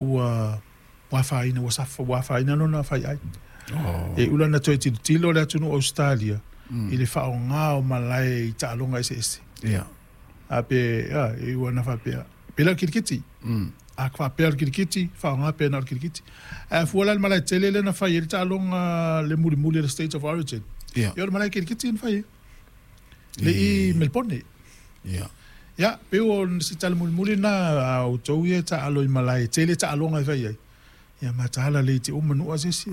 Ua afaina, ua suffer, ua afaina lona faiai. E iu la ina toe tilotilo le atunuu o Ausetalia i le faaaoga o malae i taaloga eseese. A pe, a, e iu lava ina faapea, pei la o le kirikiti. A faapea o le kirikiti, faaaoga pea na o le kirikiti. Ae a fua la i le malae tele lea na fai ai le taaloga le mulimuli o le State of Origin, ia o le malae kirikiti na fai ai. Le i Melebone. Ia, pei o se tala mulimuli lena a outou ia e taaalo i malae e tele taaloga e fai ai, ia mataala le te uma nuu a se isi.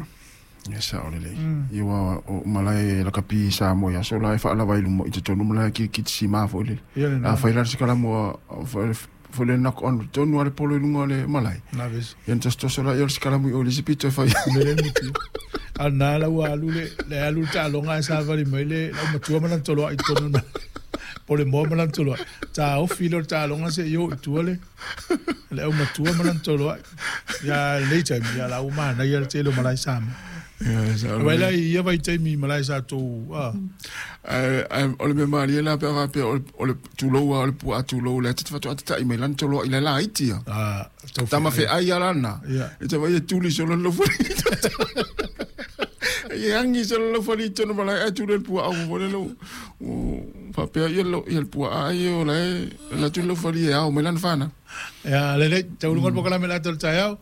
Ia sao lelei. Ia aua o malae lakapi i Samoa i aso la e faalava i luma i totonu malae kirikiti sima foi lele. Ia lena. Afai la se kalamu a foi le knock on tonu a le polo i luga o le malae. Na vesi. Ia na tosotoso laia o le sikalamu i o i le isi pito e fai ai. Mele muti. A na la ua alu le, le alu le taaloga ae savali mai le laumatua ma lana toloai i totonu na. Po le moa ma lana toloai. Taofi lea o le taaloga seia o i tua le, le aumatua ma lana toloai. Ia lenei taimi, ia la ua manaia le tele o malae Samoa. Ia, sao Aua la i ia vaitaimi i malae sa tou, a. Ae o le mea malie la pe a faapea o le tulou lava o le puaa tulou lea te faatoa tatai mai lana toloai la laiti ia. Ah, Tama feai a lana. Ia. E te vai e tuli solo le laufali. E agi solo le laufali i totonu malae ae tuli le puaa ua foi le ua faapea ia le puaa ai o la e alu atu le laufali e ao mai lana fanau. Ia, lelei, taualuga le polokalame le ata o le taeao.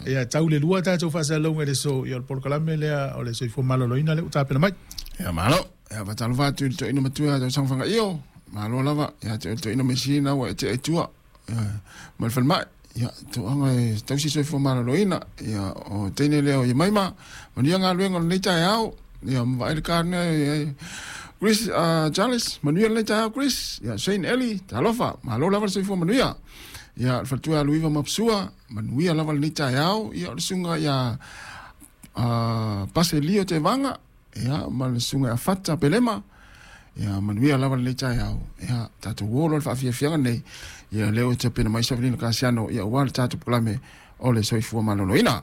Ia, tau le 2 tatou faasalalauga i le aso, ia o le polokalame lea o le soifua maloloina lea ua tapena mai. Ia, malo. Ia, faatalofa atu i le toeaina matua ia Tausaga Fagaio, malo lava. Ia te oe le toeaina Mesina ua e tea i tua. Ma le falemai. Ia, toaga e tausi soifua maloloina. Ia, o teine lea o Iemaima, manuia galuega o lenei taeao. Ia, ma vaai le karina e Chris, Charles, manuia lenei taeao Chris. Ia, Shane Eli, talofa, malo lava le soifua manuia. Ia, le faletua ia Luiva Mapsua, manuia lava lenei taeao. Ia, o le susuga ia Pase Lio Tevaga, Ia, ma le susuga ia Fata Pelema, ia manuia lava lenei taeao. Ia, tatou o loa i le faafiafiaga nei, ia lea ua tapena mai Savelina Kasiano, ia aua le tatou polokalame o le soifua maloloina.